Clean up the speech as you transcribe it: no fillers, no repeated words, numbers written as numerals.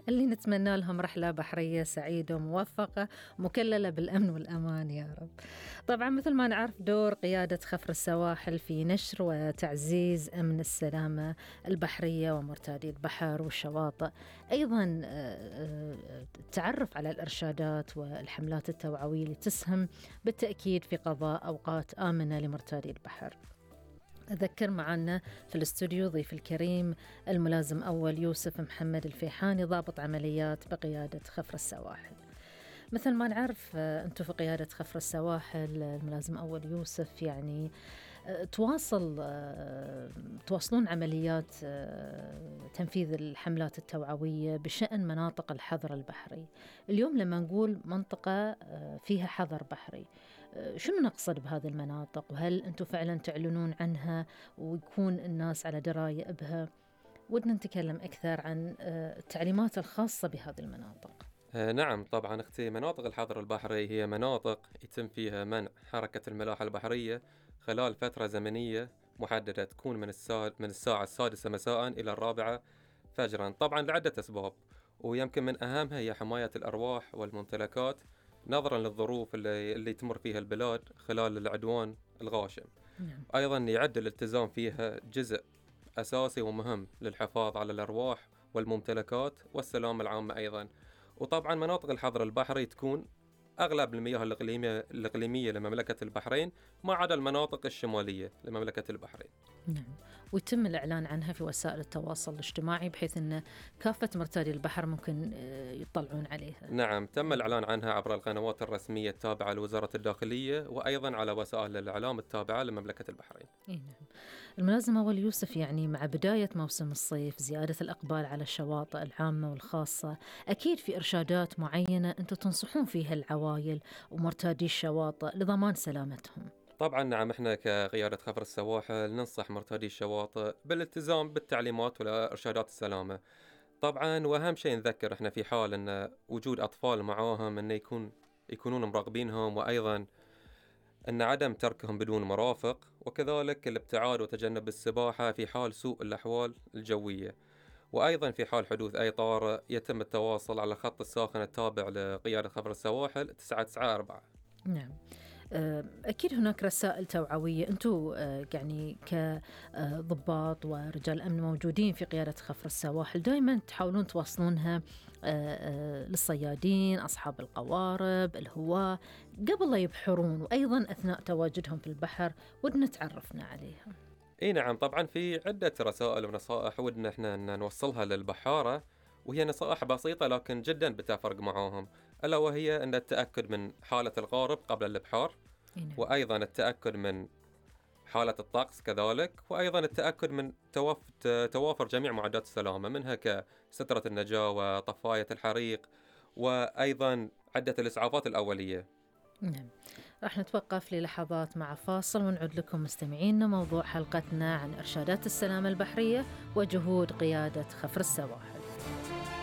اللي نتمنى لهم رحلة بحرية سعيدة وموفقة مكللة بالأمن والأمان يا رب. طبعا مثل ما نعرف دور قيادة خفر السواحل في نشر وتعزيز أمن السلامة البحرية ومرتادي البحر والشواطئ، أيضا التعرف على الإرشادات والحملات التوعوية اللي تسهم بالتأكيد في قضاء أوقات آمنة لمرتادي البحر. أذكر معنا في الاستوديو ضيف الكريم الملازم أول يوسف محمد الفيحاني، ضابط عمليات بقيادة خفر السواحل. مثل ما نعرف أنتم في قيادة خفر السواحل الملازم أول يوسف، يعني تواصلون عمليات تنفيذ الحملات التوعوية بشأن مناطق الحظر البحري. اليوم لما نقول منطقة فيها حظر بحري، شنو نقصد بهذه المناطق؟ وهل أنتم فعلا تعلنون عنها ويكون الناس على دراية بها؟ ودنا نتكلم أكثر عن التعليمات الخاصة بهذه المناطق. نعم طبعا أختي، مناطق الحظر البحري هي مناطق يتم فيها منع حركة الملاحة البحرية خلال فترة زمنية محددة، تكون من الساعة 6 مساء إلى 4 فجرا، طبعا لعدة أسباب، ويمكن من أهمها هي حماية الأرواح والممتلكات نظرا للظروف اللي تمر فيها البلاد خلال العدوان الغاشم. أيضا يعد الالتزام فيها جزء أساسي ومهم للحفاظ على الأرواح والممتلكات والسلامة العامة أيضا. وطبعا مناطق الحظر البحري تكون أغلب المياه الإقليمية لمملكة البحرين ما عدا المناطق الشمالية لمملكة البحرين. نعم، ويتم الإعلان عنها في وسائل التواصل الاجتماعي بحيث أن كافة مرتادي البحر ممكن يطلعون عليها. نعم، تم الإعلان عنها عبر القنوات الرسمية التابعة لوزارة الداخلية وأيضا على وسائل الإعلام التابعة لمملكة البحرين. نعم. الملازم أول يوسف، يعني مع بداية موسم الصيف زيادة الإقبال على الشواطئ العامة والخاصة، أكيد في إرشادات معينة أنتم تنصحون فيها العوائل ومرتادي الشواطئ لضمان سلامتهم. طبعا نعم، احنا كقيادة خفر السواحل ننصح مرتادي الشواطئ بالالتزام بالتعليمات وإرشادات السلامة طبعا، واهم شيء نذكر احنا في حال ان وجود اطفال معاهم انه يكونون مراقبينهم، وايضا ان عدم تركهم بدون مرافق، وكذلك الابتعاد وتجنب السباحة في حال سوء الاحوال الجوية. وايضا في حال حدوث اي طارئ يتم التواصل على خط الساخن التابع لقيادة خفر السواحل 994. نعم، أكيد هناك رسائل توعوية أنتم يعني كضباط ورجال أمن موجودين في قيادة خفر السواحل دائما تحاولون توصلونها للصيادين، أصحاب القوارب، الهواة، قبل لا يبحرون وأيضا أثناء تواجدهم في البحر، ودنا تعرفنا عليها. اي نعم، طبعا في عدة رسائل ونصائح ودنا احنا نوصلها للبحارة، وهي نصائح بسيطة لكن جدا بتفرق معاهم، ألا وهي أن التأكد من حالة القارب قبل الإبحار، وأيضا التأكد من حالة الطقس كذلك، وأيضا التأكد من توافر جميع معدات السلامة منها كسترة النجاة وطفاية الحريق، وأيضا عدة الإسعافات الأولية. نعم، راح نتوقف للحظات مع فاصل ونعود لكم مستمعينا موضوع حلقتنا عن إرشادات السلامة البحرية وجهود قيادة خفر السواحل.